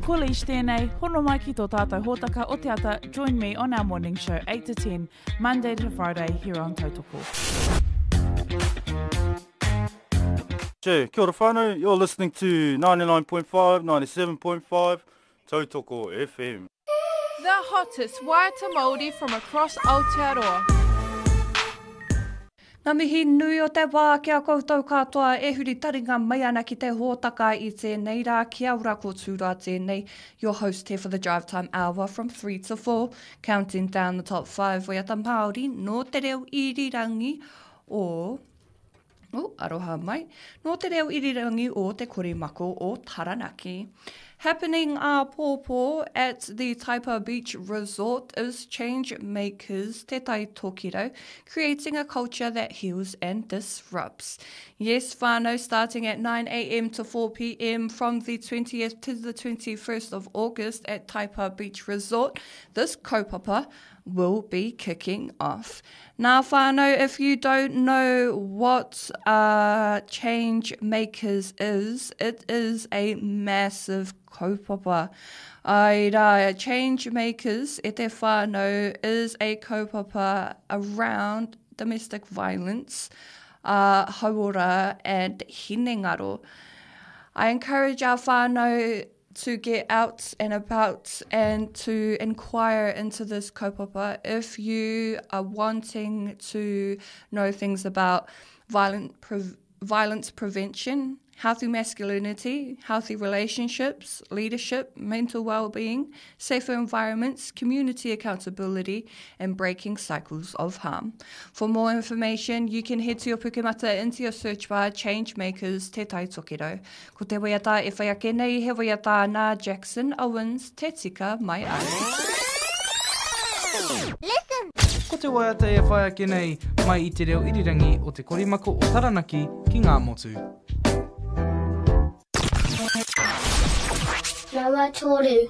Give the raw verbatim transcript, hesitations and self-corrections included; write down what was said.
Ko Leish tēnei, hono mai ki tō tātou hōtaka o te ata, join me on our morning show eight to ten, Monday to Friday here on Tautoko. Che, kia ora whānau, you're listening to ninety-nine point five, ninety-seven point five, Tautoko F M. The hottest waiata Māori from across Aotearoa. Ngā mihi nui o te wā kia koutou katoa e huri taringa mai ana ki te hōtaka i tēnei rā, kia ora ko Tūroa tēnei, your host here for the drive time hour from three to four, counting down the top five waiata Māori nō te reo irirangi o... Oh, aroha mai. Nō te reo irirangi o te Korimako o Taranaki. Happening āpōpō at the Taipa Beach Resort is Change Makers Te Tai Tokerau, creating a culture that heals and disrupts. Yes, whānau, starting at nine A M to four P M from the twentieth to the twenty-first of August at Taipa Beach Resort, this kaupapa will be kicking off. Now, whānau, if you don't know what, uh, Change Makers is, it is a massive kaupapa. Ai rā, Change Makers e te whānau is a kaupapa around domestic violence, uh, hauora and hinengaro. I encourage our whānau to get out and about and to inquire into this kaupapa if you are wanting to know things about violent pre- violence prevention, healthy masculinity, healthy relationships, leadership, mental well-being, safer environments, community accountability, and breaking cycles of harm. For more information, you can head to your Pukemata into your search bar, Changemakers Te Tai Tokerau. Ko te waiata e whai ake nei, he waiata nā Jackson Owens, Te Tika Mai Ai. Listen! Ko te waiata e whai ake nei, mai i te reo irirangi o te Korimako o Taranaki ki ngā motu. Nama toru.